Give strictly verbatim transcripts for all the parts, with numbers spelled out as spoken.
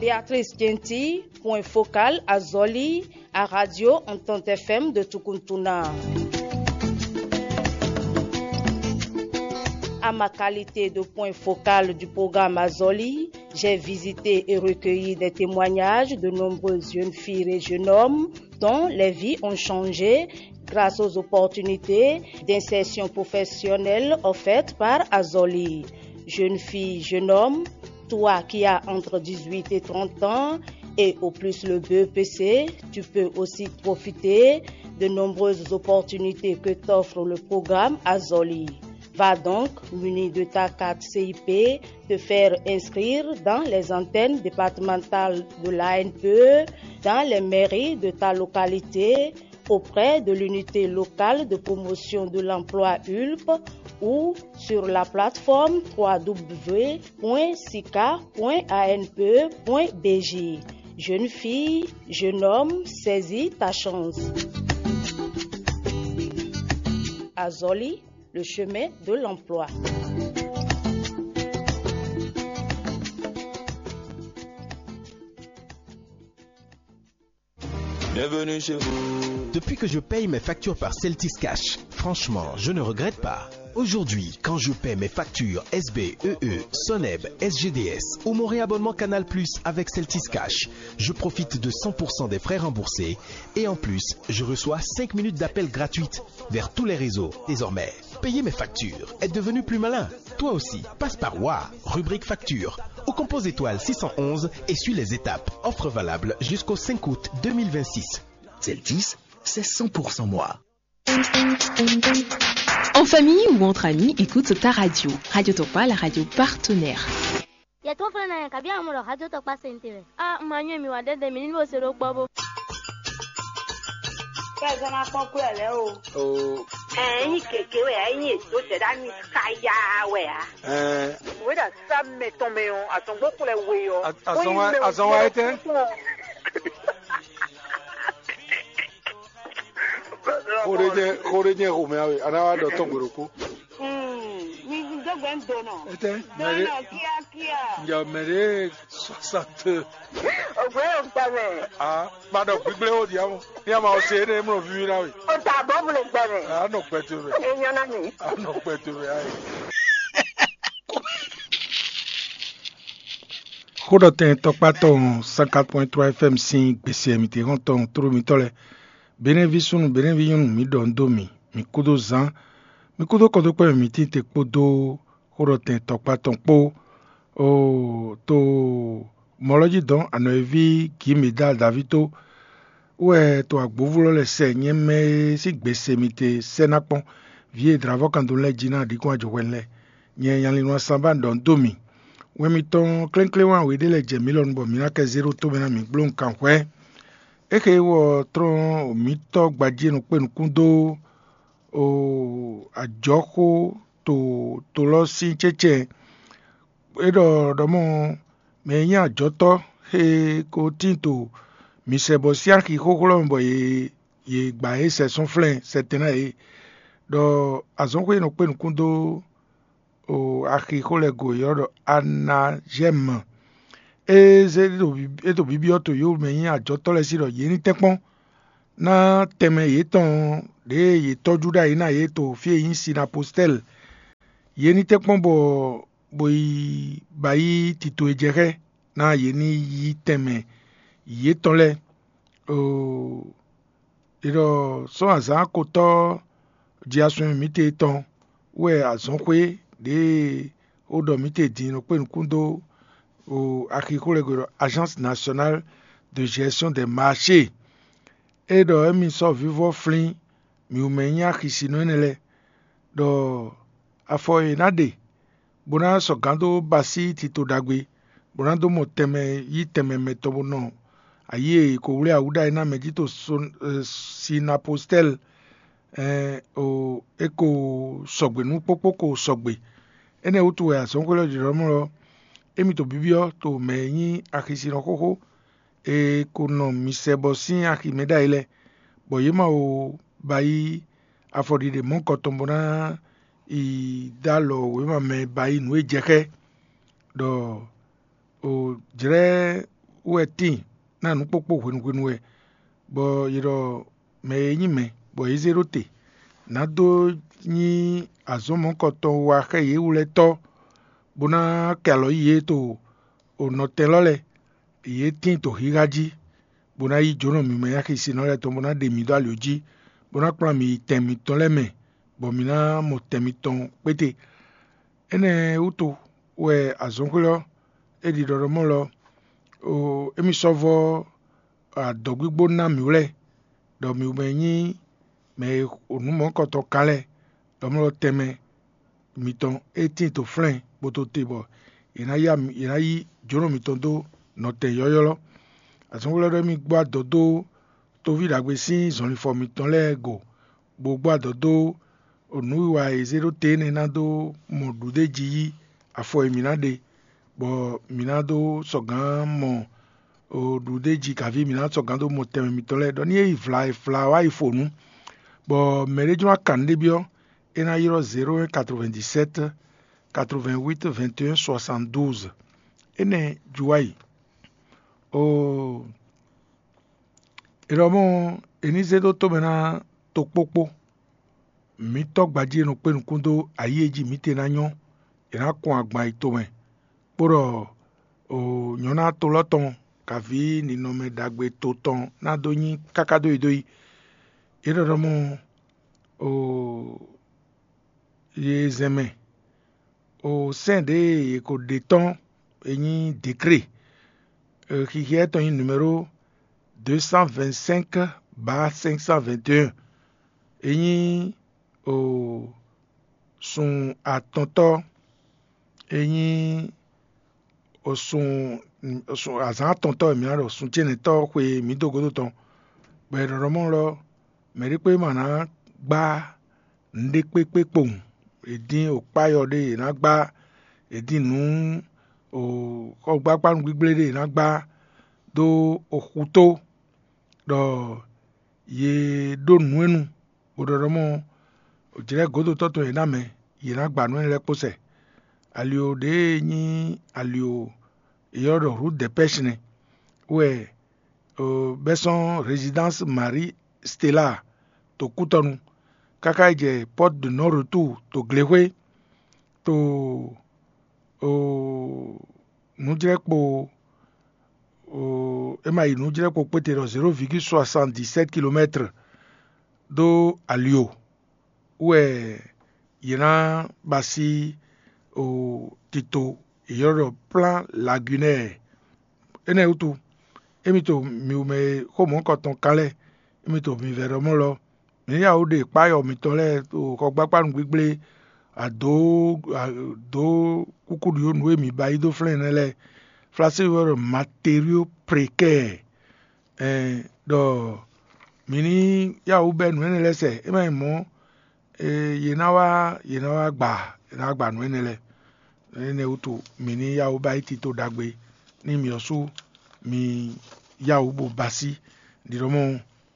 Béatrice Genti, point focal Azɔli, à Radio Entente F M de Tukuntuna. À ma qualité de point focal du programme Azɔli, j'ai visité et recueilli des témoignages de nombreuses jeunes filles et jeunes hommes dont les vies ont changé grâce aux opportunités d'insertion professionnelle offertes par Azɔli. Jeune fille, jeune homme, toi qui as entre dix-huit et trente ans et au plus le B E P C, tu peux aussi profiter de nombreuses opportunités que t'offre le programme Azɔli. Va donc, muni de ta carte C I P, te faire inscrire dans les antennes départementales de l'A N P E, dans les mairies de ta localité, auprès de l'unité locale de promotion de l'emploi U L P ou sur la plateforme trois W point sica point A N P E point B J. Jeune fille, jeune homme, saisis ta chance. Azɔli, le chemin de l'emploi. Bienvenue chez vous. Depuis que je paye mes factures par Celtis Cash, franchement, je ne regrette pas. Aujourd'hui, quand je paie mes factures S B, E E, Soneb, S G D S ou mon réabonnement Canal Plus avec Celtis Cash, je profite de cent pour cent des frais remboursés et en plus, je reçois cinq minutes d'appel gratuite vers tous les réseaux. Désormais, payer mes factures est devenu plus malin. Toi aussi, passe par Wa, rubrique facture, ou compose étoile six cent onze et suis les étapes. Offre valable jusqu'au cinq août deux mille vingt-six. Celtis, c'est cent pour cent moi. En famille ou entre amis, écoute ta radio. Radio Tokpa, la radio partenaire. Yɛ tó flɛ́ ná yɛ kabi amɔ ɖɔ hajó tɔkpá sɛntɛ wɛ. A ma nyɔ mi wa dɛdɛ mi ní bó se ɖó kpɔ bó. Kɛ zɔn na kpɔn kú ɛ lɛ o. Ɛyin gěgé wɛ, ɛyin ètò zɛdá mi káyà wɛ a. Wéɖa sá mɛ tɔn mɛ ɔ́, azɔngbó kplɛ we ɔ́. Azɔn wa etɛ́? Xó ɖé nyɛ xó ɖé nyɛ xomɛ awe, a ná wá ɖɔ tɔn gbe ɖokpó. Mi dó gbɛ ń do nɔ. Etɛ́? Dó nɔ kíákíá. Njɛ mɛ ɖé soixante. Ògbé ò gbà mɛ. Ah, ma ɖɔ gbígbléwó diamu. Ní a ma ɔ se énɛ́ mlɔ víví ná we. O ta bɔ mu le gbɛ mɛ. A nɔ gbɛ to mɛ. E nyɔ na mi. A nɔ gbɛ to mɛ ayi. Xóɖɔtɛn tɔkpá tɔn cent quatre point trois F M sín gbèsè mǐtɛn hɔn tɔn tló mitɔ́ lɛ́ɛ. Benɛ́ví súnnu, benɛ́ví nyɔ́nu, mǐ ɖɔ nǔ dó mì, mǐ kúdó zán, mǐ kúdó kɔdókpɛ́ mǐtɛn kpódó xóɖɔtɛn tɔkpá tɔn kpó. Oo, to mɔ̌ lɔ jí dɔn anɔ̌ e ví Gǐmedá Daví tó wɛ to agbǒvú lɔ lɛ́ɛ sɛ nyɛ mɛ e sín gbèsè mitɛn sɛ́ ná kpɔ́n. Vǐ e dlǎvɔ́ kan dó lɛ́ɛ jí ná ɖǐkún ajɔhwɛnu lɛ́ɛ. Nyɛ Nyalinɔ Asanbá ɖɔ nǔ dó mì. Wɛn mitɔn klɛ́nklɛ́n wán wěɖé lɛ́ɛ jɛ mǐ lɔnu bɔ mǐ ná kɛ zé ɖó tó mɛ ná mǐ gbló nǔkanhwɛ. É xe wɔ tlɔ́n mǐtɔ́ gbají e nɔ kpé nukún dó ajɔ̌xó to to lɔ sín cɛ́cɛ́. É ɖɔ ɖɔ mɔ mɛ e nyí ajɔ̌tɔ́ xe ko tíin to mǐ sɛ bɔ sín axi xóxó lɔ mɛ bɔ yě yě gba yě sɛ sɔ́nflɛ́n sɛtɛn ná yě, ɖɔ azɔ̌xwé e nɔ kpé nukún dó axixo lɛ́ɛ go e ylɔ́ ɖɔ Anazɛ́mu. É zé é ɖo bibyɔ́ to yǒ mɛ nyí ajɔ̌tɔ́ lɛ́ɛ sí ɖɔ yě ní tɛ́nkpɔ́n ná tɛnmɛ yětɔn ɖěe yě tɔ́jú ɖ'ayǐ ná yě to fí e nyí Sinapostɛ́li. Yě ní tɛ́nkpɔ́n bɔ bɔ yi ba yí tito e jɛ xá ná yě ní yí tɛnmɛ yětɔn lɛ́ɛ. È ɖɔ sɔ́ azǎn akotɔ́ jiasun e mǐtɛn tɔn wɛ azɔ̌xwé ɖěe ó ɖɔ mǐtɛn din nɔ kpé nukún dó axixo lɛ́ɛ gbe ɖɔ Agence Nationale de Gestion des Marchés. É ɖɔ émí sɔ́ vívɔ́ flín mǐ wú mɛ e nyí axisinɔ énɛ́ lɛ́ɛ, ɖɔ afɔ e è nǎ ɖe bó ná sɔgǎn dó basí tito ɖagbe, bó ná dó mɔ tɛnmɛ yí tɛnmɛ mɛtɔn bó nɔ ayǐ e è ko wlí awǔ ɖ'ayǐ ná mɛ jí to Sinapostɛ́li, é ko sɔgbe nú kpókpó ko sɔgbe. Énɛ́ wútu wɛ azɔ̌xwé lɔ ɖiɖɔ́mlɔ́ émí to bibyɔ́ to mɛ e nyí axisinɔ xóxó e ko nɔ mi sɛ bɔ sín axi mɛ ɖ'ayǐ lɛ́ɛ, bɔ yě ma wo ba yí afɔɖiɖe mɔ̌kɔ tɔn bó ná yi dó alɔ wěma mɛ ba yí nǔ e jɛ xá ɛ, ɖɔ jlɛ́ wɛ tíin ná nǔ kpókpó hwenu hwenu wɛ, bɔ yě ɖɔ mɛ e nyí mɛ bɔ yě zé ɖó te ná dó nyí azɔ̌ mɔ̌hunkɔtɔn wa xá yě wú lɛ́ɛ tɔ́, bó ná kɛ alɔ yí yě to nɔtɛn lɔ lɛ́ɛ, yě tíin to xixa jí, bó ná yí jǒnɔ mǐmɛ́ axi sinɔ lɛ́ɛ tɔn, bó ná ɖe mǐ dó ali jí, bó ná kplá mǐ yi tɛn mǐtɔn lɛ́ɛ mɛ, bɔ mǐ ná mɔ tɛn mitɔn kpéte. Énɛ́ wútu wɛ azɔ̌xwé ɔ́ é ɖi ɖɔɖɔmɔ́ lɔ, émí sɔ́ vɔ́ adɔ̌gbígbó ná mǐ wlɛ́, ɖɔ mǐ mɛ nyí mɛ e nǔ mɔ̌hunkɔtɔn kan lɛ́ɛ, ɖɔ mlɔ́ tɛnmɛ mitɔn é tíin to flɛ́n bó tó te bɔ è nǎ yá yě ná yí jǒnɔ mitɔn dó nɔtɛn yɔ́ylɔ́. Azɔ̌xwé lɛ́ɛ ɖɔ émí gbɔ adɔ dó toví ɖagbe sín zɔnlifɔ mitɔn lɛ́ɛ go, bó gbɔ adɔ dó nǔwiwa e è zé ɖó te énɛ́ ná dó mɔ ɖuɖéjí yí afɔ e mǐ ná ɖe, bɔ mǐ ná dó sɔgǎn mɔ ɖuɖéjí kaví mǐ ná sɔgǎn dó mɔ tɛnmɛ mitɔn lɛ́ɛ ɖɔ ní é yi vla e vla wá yi fo nǔ, bɔ mɛɖé jló ná kan nǔɖé byɔ́, é ná ylɔ́ zéro un quatre-vingt-dix-sept quatre-vingt-huit vingt et un soixante-douze. Énɛ́ ju wá yi. Oo, è ɖɔ mɔ è ní zé dó tomɛ ná tokpókpó mǐtɔn gbají e nɔ kpé nukún dó ayǐ e jí mǐtɛn ná nyɔ́, è nǎ kɔn agban yi tomɛ, kpó ɖɔ nyɔ̌ná to lɔ́ tɔn kaví ninɔmɛ ɖagbe to tɔn ná dó nyí káká dó yi dó yi. É ɖɔ ɖɔ mɔ yě zɛn mɛ o sɛ́n ɖě e è ko ɖe tɔn e nyí décret, xixiɛ tɔn nyí numéro deux cent vingt-cinq barre cinq cent vingt et un, e nyí o sun atɔntɔ́, e nyí o sun o sun azǎn atɔntɔ́ e mǐ ná ɖɔ sun cénɛtɔ́ xwe e mǐ dó gǒdo tɔn, bɔ è ɖɔ ɖɔ mɔ̌ lɔ mɛ̌ ɖé kpé ma ná gbá nǔɖé kpékpé kpowun. È dín okpáyɔ ɖé è nǎ gbá, è dín nǔ xɔgbákpánu gbígblé ɖé è nǎ gbá dó oxutó, ɖɔ yě ɖó nǔ e nu, bó ɖɔ ɖɔ mɔ jlɛ̌ gǒdotɔ́ tɔn yě ná mɛ, yě ná gba nǔ énɛ́ lɛ́ɛ kpó sɛ. Alio ɖě e nyí alio è ylɔ́ ɖɔ Rut Dɛpɛ́shi nɛ́, wɛ bɛ́ sɔ́n Résidence Marie Stella to kútɔnu, káká yi jɛ Porte de Non Retour to Glexwé, to nǔjlɛ́kpo, é ma yi nǔjlɛ́kpo kpéte ɖɔ zéro virgule soixante-dix-sept kilomètre dó ali o, wɛ yě ná ba sí tito è ylɔ́ ɖɔ Plan Lagunaire. Énɛ́ wútu, émí to mǐwumɛ e xó mɔ̌hunkɔtɔn kan lɛ́ɛ, émí to mǐvɛ́ ɖɔ mɔ́ lɔ, mǐ ní yá wǔ ɖe kpáyɔ mǐtɔn lɛ́ɛ ɖo xɔgbákpánu gbígblé, adǒ adǒ kúkúɖiɖó nǔ e mǐ ba yí dó flɛ́n nɛ́ lɛ́ɛ. Flasé wɛ ɖɔ matériaux précaires, ɛn ɖɔ mǐ ní yá wǔ bɛ́ nǔ énɛ́ lɛ́ɛ sɛ, é má nyí mɔ̌, yě ná wá yě ná wá gba yě ná wá gba nǔ énɛ́ lɛ́ɛ. Énɛ́ wútu mǐ ní yá wǔ ba yí tito ɖagbe nú mǐ ɔ́ sú mǐ yá wǔ bo ba sí. Ɖiɖɔ mɔ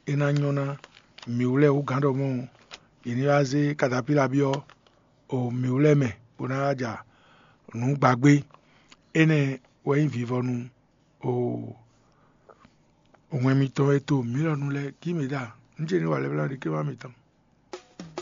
é ná nyɔ́ ná mǐ wú lɛ́ɛ wú gǎn ɖɔ mɔ yě ní wá zé katapíla byɔ́ o mǐ wú lɛ́ɛ mɛ bó ná wá ja nǔ gbagbé. Énɛ́ wɛ nyí vivɔnu o wɛn mitɔn e to mǐ lɔ nu lɛ́ɛ kí mǐ ɖa nú ce ní wa lɛ́blá ɖi ké wá mitɔn.